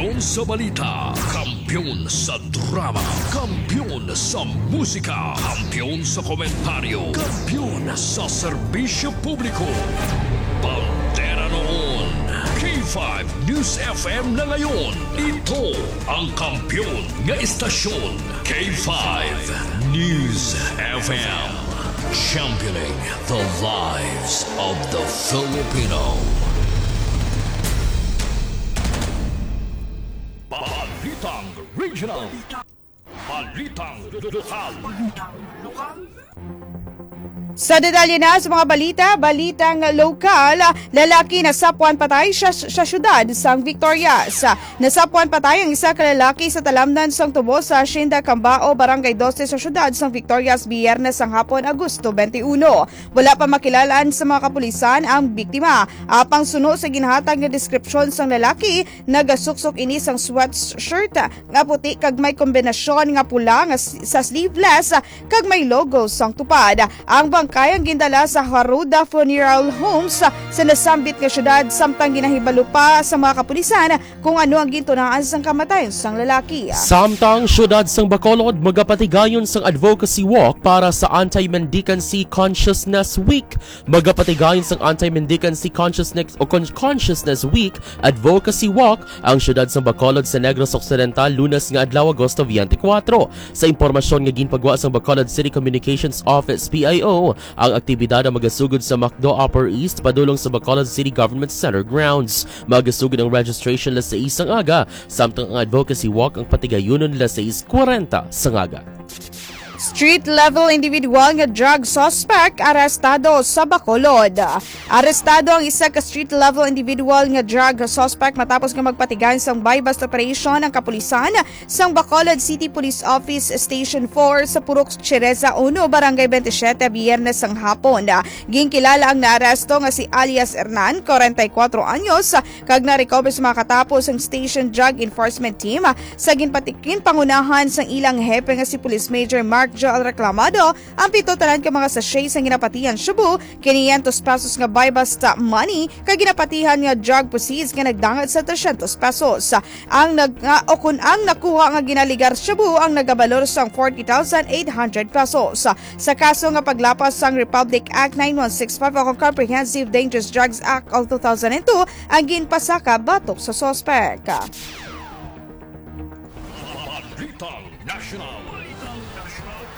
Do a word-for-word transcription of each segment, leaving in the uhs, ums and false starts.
Kampiyon sa balita, kampiyon sa drama, kampiyon sa musika, kampiyon sa komentaryo, kampiyon sa serbisyo publiko. Bandera noon, K five News F M na ngayon. Ito ang kampiyon nga istasyon, K five News F M. Championing the lives of the Filipino. Balitang Regional. Balitang Lokal. Sa detalye na sa mga balita, balitang lokal, lalaki nasapwan patay sa, sa syudad sang Victorias. Nasapwan patay ang isa ka lalaki sa talamnan sang tubo sa Hacienda Cambao, Barangay Doce sa syudad sang Victorias, Biyernes sang hapon, Agosto twenty-one. Wala pa makilalaan sa mga kapulisan ang biktima. Apang suno sa ginhatag nga deskripsyon sang lalaki, nagasuksok ini sang sweatshirt nga puti kag may kombinasyon nga pula nga s-, sa sleeveless kag may logo sang Tupad. Ang bangkay ang gindala sa Haruda Funeral Homes sa nasambit nga syudad, samtang ginahibalo pa sa mga kapulisan kung ano ang gintunaan sang kamatayon sang lalaki. Samtang syudad sang Bacolod, magapatigayon sang advocacy walk para sa Anti-Mendicancy Consciousness Week. Magapatigayon sang Anti-Mendicancy Consciousness o Con-, Consciousness Week Advocacy Walk ang syudad sang Bacolod sa Negros Occidental, Lunes nga adlaw, Agosto twenty-four. Sa impormasyon nga ginpagwa sang Bacolod City Communications Office, P I O, ang aktibidad ang magasugod sa McDo Upper East padulong sa Bacolod City Government Center grounds. Magasugod ang registration alas sais sang aga, samtang ang advocacy walk ang patigayunon alas sais kwarenta sang aga. Street level individual nga drug suspect arestado sa Bacolod. Arestado ang isa ka street level individual nga drug suspect matapos nga magpatigay sang buy-bust operation ang kapulisan sang Bacolod City Police Office Station four sa Purok Chereza uno, Barangay twenty-seven, Biyernes sang hapon. Ginkilala ang naaresto nga si alias Hernan, kwarenta y kuwatro anyos, kag na-recover sa mga katapo sang Station Drug Enforcement Team sa ginpatikin pangunahan sang ilang hepe nga si Police Major Mark Joel Reclamado. Ang pito tanan ka mga sachet sang ginapatihan shabu, kinyentos pesos nga buy-bust money, kag ginapatihan nga drug proceeds nga nagdangat sa tresyentos pesos. Ang nag-, nga, o kun ang nakuha nga ginaligar shabu ang nagabalor sang forty thousand eight hundred pesos. Sa kaso nga paglapas sang Republic Act nine one six five o Comprehensive Dangerous Drugs Act of two thousand and two ang ginpasaka batok sa suspek. Balitang National.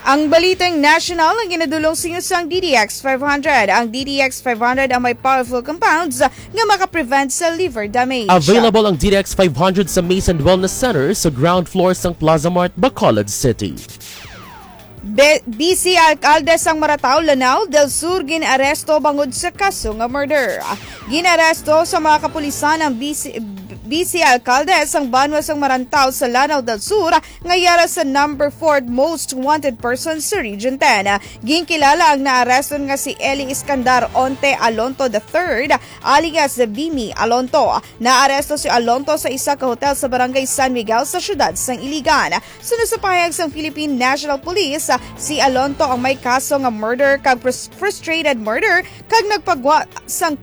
Ang balitang national ang ginadulong sa inyo sang D D X five hundred. Ang D D X five hundred ang may powerful compounds nga makaprevent sa liver damage. Available ang D D X five hundred sa Maze and Wellness Center sa ground floor sang Plaza Mart, Bacolod City. Be-, Vice Alkalde sang Maratao, Lanao del Sur gin-aresto bangod sa kaso nga murder. Gin-aresto sa mga kapulisan ang Vice, Vice Alkalde sang banwa sang Maratao sa Lanao del Sur nga yara sa number four most wanted person sa Region ten. Ginkilala ang naaresto nga si Eli Iskandar Onte Alonto the third, alias Bimi Alonto. Naaresto si Alonto sa isa ka hotel sa Barangay San Miguel sa siyudad sang Iligan. Suno sa pahayag sang Philippine National Police, si Alonto ang may kaso nga murder kag frus-, frustrated murder kag nagpagwa sang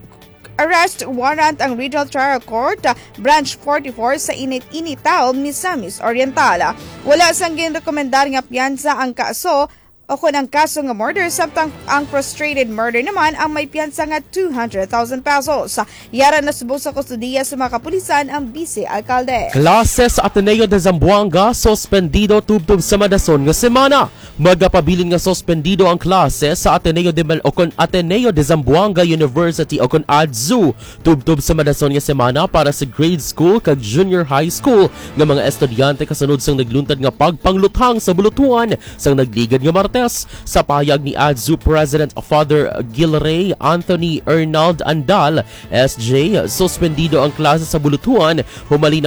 arrest warrant ang Regional Trial Court, Branch forty-four sa Init-, Initao, Misamis Oriental. Wala sang ginrekomendar nga piyansa ang kaso o kon ang kaso nga murder, samtang ang frustrated murder naman ang may piyansa nga two hundred thousand pesos. Yara na subong sa kustodiya sa mga kapulisan ang Vice Alkalde. Klase sa Ateneo de Zamboanga suspendido tubtob sa madason nga semana. Magapabilin nga suspendido ang klase sa Ateneo de Mal-, o kon Ateneo de Zamboanga University o kon ADZU tubtob sa madason nga semana para sa grade school kag junior high school nga mga estudyante kasunod sang nagluntad nga pagpangluthang sa bulutuan sang nagligad nga Martes. Sa pahayag ni ADZU President Father Gilray Anthony Ernald Andal, S J, suspendido ang klase sa bulutuan humalin